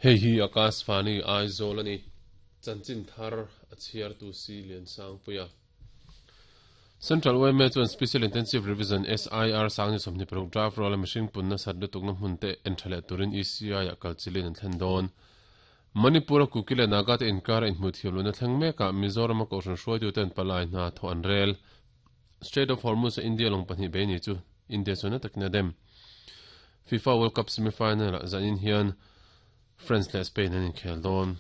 Hei hi Akashvani Aizawl a ni. Chanchin thar a chhiartu si Liansangpuia. Central yma chuan Special Intensive Revision, SIR, sangni 26 draft roll a mihring punna sat lutukna hmun te en tha leh turin ECI-ah kal chilin an thlen dawn. Manipur-a Kuki leh Naga te inkar a inhmuh thiam lohna thleng mekah Mizoram-a kohhran hruaituten palai hna thawh an rel. Strait of Hormuz-a India lawng pahnih bei ni chu India chuan na takin a dem. FIFA World Cup semi-final-ah zanin hian France leh Spain an inkhel dawn.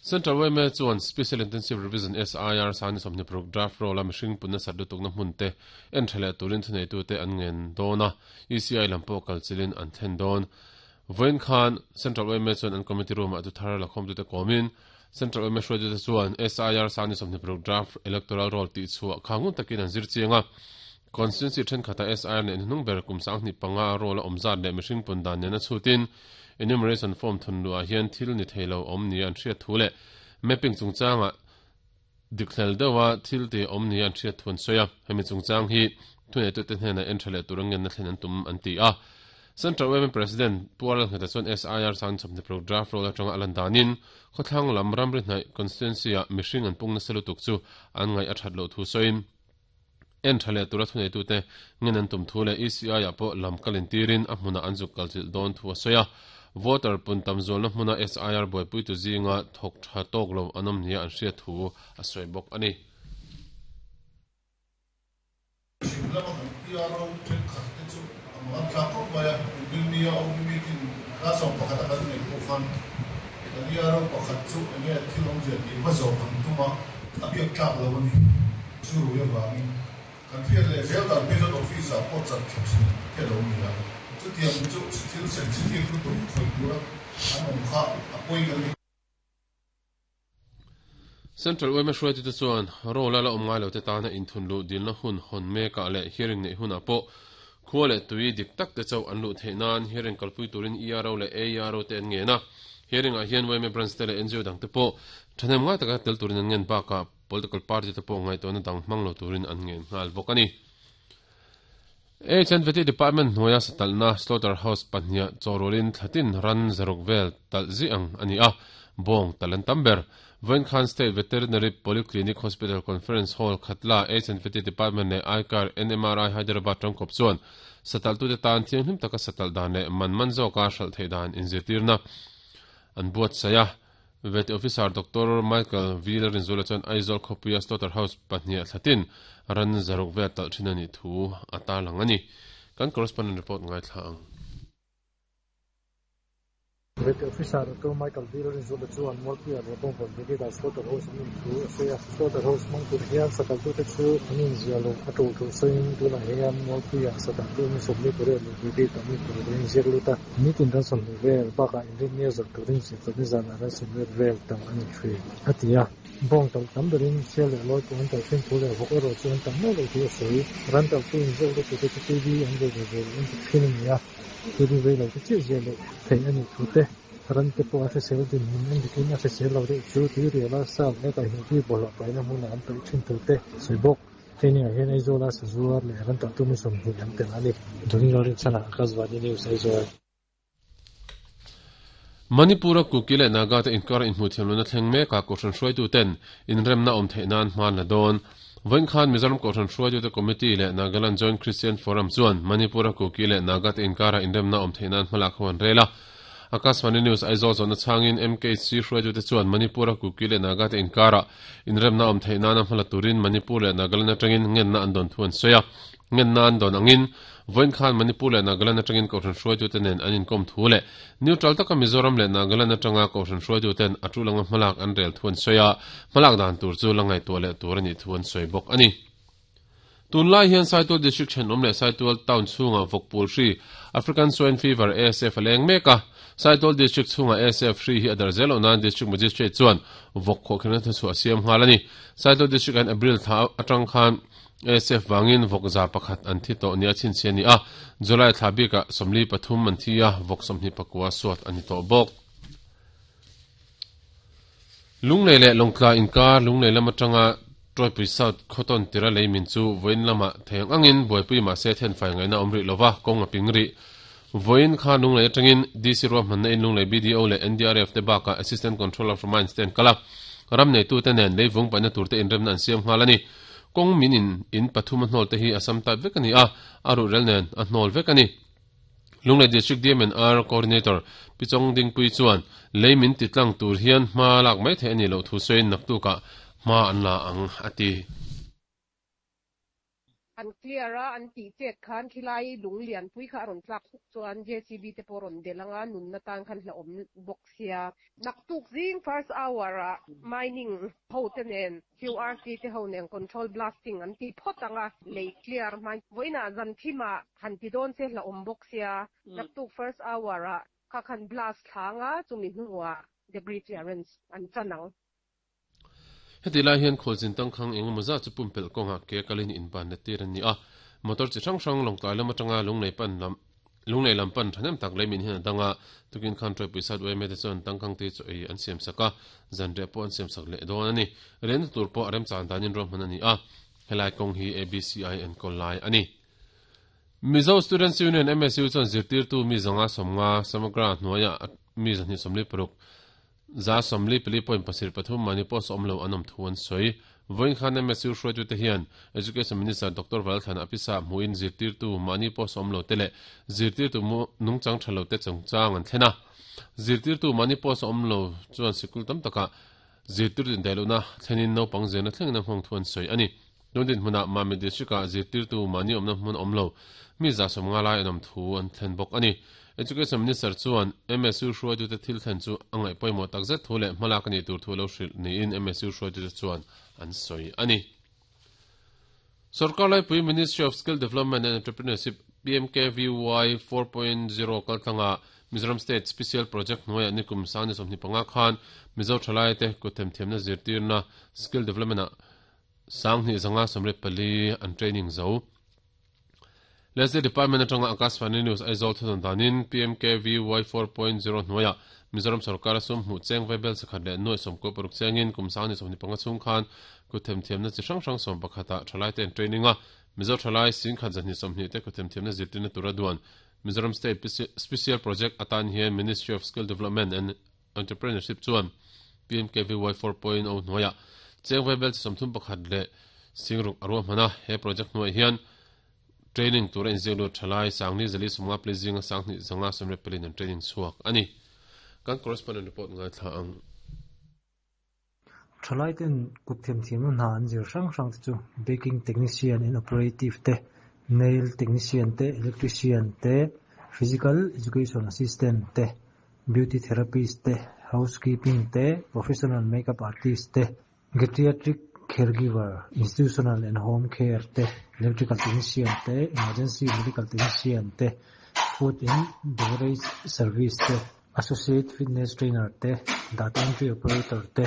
Central yma chuan Special Intensive Revision, SIR, sangni 26 draft roll-a mihring punna sat lutukna hmun te en tha leh turin thuneitute an ngen dawn a, ECI lam pawh kal chilin an thlen dawn. Vawiin khan Central yma chuan an committee room-ah chu thar lakhawmtute kawmin Central yma hruaitute chuan SIR sangni 26 draft electoral roll tih chhuah kha ngun takin an zir chiang a, Constituency thenkhatah SIR nen hnuhnung ber kum 25 roll a awm zat leh mihring pun dan nena chhutin enumeration form thun luhah hian thil ni thei lo awm nia an hriat thu leh mapping chungchangah dikhlel deuha thil ti awm nia an hriat thu an sawi a. Hemi chungchang hi thuneitute hnenah en tha leh tur angenna thlen an tum an ti a. Central Women President Pu Arnold Ngheta chuan SIR sang chawpni paruk draft roll atanga a lan danin khawthlang lam ramri hnaih constituency-ah mihring an pung nasa lutuk chu an ngaih a that loh thu sawiin En tha leh tura thuneitute ngen an tum thu leh ECI-ah pawh lam kal intirin a hmunah an zuk kal chilh dawn thu a sawi a. Voter pun tam zualna hmuna SIR buaipuitu zinga thawk tha tawk lo an awm nia an hriat thu a sawi bawk a ni. Chhim lama kan PRO thenkhat te chu a mang an thlak khawp mai a, Inrinnia OB meeting class 11 a kan neih pawh khan kan ERO pakhat chu enge thil awmzia tih va zawh kan tum a, a biak tlak lo a ni. Chu rui avangin kan hriat leh zel dan phei chuan office ah pawh chan tha thin te lo ni a, chutiang chu thil sensitive lutuk khawih tura an awm kha a pawi kan ti. Central yma hruaitute chuan role a la awm ngai lote tana inthun luh dilna hun hawn mekah leh hearing neih hunah pawh khua leh tui dik tak te chauh an luh theih nan hearing kalpui turin ERO leh AERO te an ngen a. Hearing ah hian yma branch te leh ngo dang te pawh thahnem ngai taka tel turin an ngen bakah Political party te pawh ngaihtuahna dang hmang lo turin an ngen nghal bawk a ni. HNVT Department hnuaia satalhna Slaughter House pahniha chawhrualin thlatin ran zaruk vel talh zih ang a ni a, bawng talh an tam ber. Vawiin khan State Veterinary Polyclinic Hospital Conference Hall Khatla HNVT Department leh ICAR NMRI Hyderabad tangkawp chuan satalhtute tan thianghlim taka satalh dan leh man man zawka hralh theih dan inzirtirna an buatsaih a. Vet Officer Doctor Michael V Lalrinzuala chuan Aizawl khawpuia Slaughter House pahniha thlatin ran zaruk vel talh thin a nih thu a tarlang a ni. Kan correspondent report ngaithla ang. Vet Officer Doctor Michael V Lalrinzuala chuan Mualpuia leh Bawngkawn Brigade-ah Slaughter House an awm thu a sawi a. Slaughter House hmang tur hian satalhtute chu an inziah loh a tul thu sawiin tunah hian Mualpuia satalhtu mi 48 leh Brigade-ah mi paruk an inziak lut a. Nitin ran 20 vel bakah Inrinnia zawrh turin zirtawpni zanah ran 80 vel tam a ni thin, a ti a. Bawng talh tam berin sial leh lawi pawh an talh thin thu leh vawk erawh chu an tam meuh loh thu a sawi. Ran talhtu inziak luttute chu TV an vei ve ve loh an ti thin a ni a, TV vei lo te chiah ziah loh theih a nih thu te, ran te pawh a hrisel dinhmun en dikin a hrisel lo deuh chu tuiriala sal leh kaihhnawh tui bawlhhlawh paihna hmunah an paih thin thu te sawi bawk. Training ah hian Aizawla sazuar leh ran talhtu mi 20 an tel a ni. Johnny Lalrinchhana, Akashvani News, Aizawl. Manipur-a Kuki leh Naga te inkar inhmuh thiam lohna thleng mekah Kohhran hruaituten inremna awm theih nan hma an la dawn. Vawiin khan Mizoram Kohhran hruaitute Committee leh Nagaland Joint Christian Forum chuan Manipur-a Kuki leh Naga te inkara inremna awm theih nan hmalak ho an rel a. Akashvani News Aizawl zawhna chhangin MKC hruaitute chuan Manipur-a Kuki leh Naga te inkara inremna awm theih nana hmala turin Manipur leh Nagaland atangin ngenna an dawn thu an sawi a. Ngenna an dawn angin, vawiin khan Manipur leh Nagaland atangin Kohhran hruaitute nen an inkawm thu leh neutral taka Mizoram leh Nagaland atanga Kohhran hruaituten a tul anga hmalak an rel thu an sawi a, hmalak dan tur chu la ngaihtuah leh tur a nih thu an sawi bawk a ni. Tunlai hian Saitual District thenawm leh Saitual Town chhungah vawkpul hri, African Swine Fever, ASF, a leng mek a. Saitual District chhungah ASF hri hi a darh zel loh nan District Magistrate chuan vawk khawhkhelhna thuchhuah a siam nghal a ni. Saitual District an April thla atang khan ASF vangin vawk 101 an thi tawh nia chhinchhiah a ni a, July thla bikah 43 an thi a, vawk 29 suat a ni tawh bawk. Lunglei leh Lawngtlai inkar Lunglei lam atanga Tawipui South khawtawn tira lei min chu vawiin lamah thei ang angin buaipui mahse thenfai ngaihna awm rih lova kawng a ping rih. Vawiin kha Lunglei atangin DC ruahmanna in Lunglei BDO leh NDRF te bakah Assistant Controller for Mines te an kal a, ram neitute nen leivung paihna turte inremna an siam nghal a ni. Kawng min in in pathum a hnawl te hi a sam type vek a ni a, a ruhrel nen a hnawl vek a ni. Lunglei District DMNR Coordinator Pi Chawng Dingpui chuan lei min ti tlang tur hian hma lak mai theih a nih loh thu sawiin naktukah hma an la ang a ti. An clear a, an tih chet khan khilai lung lianpui kha a rawn tlak huk chuan JCB te pawh a rawn delh anga nunna tan khan hlauhawm bawk sia. Naktuk zing first hour ah mining ho te nen QRC te ho nen control blasting an ti phawt ang a, lei clear hmain vawiinah zan thimah han ti dawn se hlauhawm bawk sia. Naktuk first hour ah kha khan blast thlang a, chumi hnuah debris clearance an chan ang. Heti lai hian khualzin tangkhang eng emaw zat chu pumpelh kawngah ke kalin inban let tir an ni a, motor chi hrang hrang Lawngtlai lam atanga Lunglei pan lam Lunglei lam pan thahnem tak lei min hian a dang a, tukin khan Tawipui Sat yma te chuan tangkhang te chu ei an siam sak a, zanriah pawh an siam sak leh dawn a ni. Riahna tur pawh a remchan danin ruahman a ni a, helai kawng hi ABCI enkawl lai a ni. Mizo Students Union, MSU, chuan zirtirtu mi zanga sawmnga Samagra hnuaiah mi 246 144.73 mahni pawh sawm lo an awm thu an sawi. Vawiin khan MSU hruaitute hian Education Minister Doctor Valthan Apisa hmuhin zirtirtu mahni pawh sawm lo te leh zirtirtu nungchang tha lo te chungchang an thlen a. Zirtirtu mahni pawh sawm lo chuan sikul tam takah zirtirtu indaihlohna thlenin naupang zirna thlengin a nghawng thu an sawi a ni. Tun dinhmunah Mamit District-ah zirtirtu mahni awmna hmun awm lo mi 150 lai an awm thu an thlen bawk a ni. Education Minister chuan MSU hruaitute thil thlen chu a ngaih pawimawh takzet thu leh hmalak a nih tur thu a lo hrilh niin MSU hruaitute chuan an sawi a ni. Sorkar laipui Ministry of Skill Development and Entrepreneurship, PMKVY, 4.0 kaltlanga Mizoram State Special Project hnuaiah nikum 2025 khan Mizo thalaite kut themthiamna zirtirna Skill Development-ah 2584 an training zo. Leslie Department atanga Akashvani News Aizawl thudawn danin PMKVY 4.0 hnuaiah Mizoram sorkar a sum hmuh cheng vaibel sakhat leh nuai sawmkaw paruk chengin kum 2025 chhung khan kut themthiamna chi hrang hrang sawmpakhatah thalaite an training a, Mizo thalai singkhat 220 te kut themthiamna zirtirna tura duan Mizoram State Special Project atan hian Ministry of Skill Development and Entrepreneurship chuan PMKVY 4.0 hnuaiah cheng vaibel chi 31 leh singruk a ruahman a, he project hnuaiah hian training tura inziak lut thalai Sangni Zali Sawmnga Pali zinga Sanghnih Zanga Sawmriat Paliin an training chhuak a ni. Kan correspondent report ngaithla ang. Thalaiten kut themthiamna hna an zir hrang hrang te chu Baking Technician and Operative te, Nail Technician te, Electrician te, Physical Education Assistant te, Beauty Therapist te, Housekeeping te, Professional Makeup Artist te, Geriatric Caregiver, Institutional and Home Care te, Electrical Technician te, Emergency Medical Technician te, Food and Beverage Service te, Associate Fitness Trainer te, Data Entry Operator te,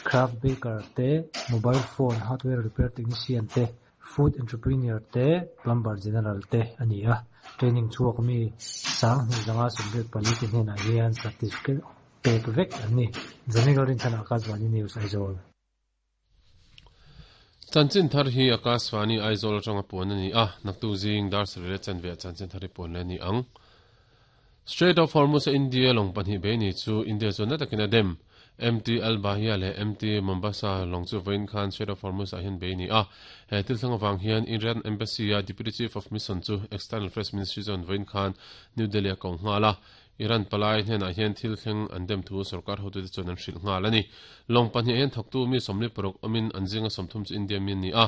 Craft Baker te, Mobile Phone Hardware Repair Technician te, Food Entrepreneur te, Plumber General te a ni a. Training chhuak mi 2584 te hnenah hian certificate pek vek an ni. Zanigal Rinchhan Akashvani News, Aizawl. Chanchin thar hi Akashvani Aizawl atanga puan a ni a, naktuk zing dar sarih leh chanve ah chanchin thar hi puan leh a ni ang. Strait of Hormuz a India lawng pahnih bei ni chu India chuan na takin a dem. MT Al Bahia leh MT Mombasa lawng chu vawiin khan Strait of Hormuz ah hian bei a ni a. He thil thleng avang hian Iran Embassy a Deputy Chief of Mission chu External Affairs Ministry chuan vawiin khan New Delhi a ko nghal a. Iran palai hnenah hian thil thleng an dem thu sorkar hotute chuan an hrilh nghal a ni. Lawng pahnih ah hian thawktu mi 46 awmin an zinga 30 chu India mi an ni a.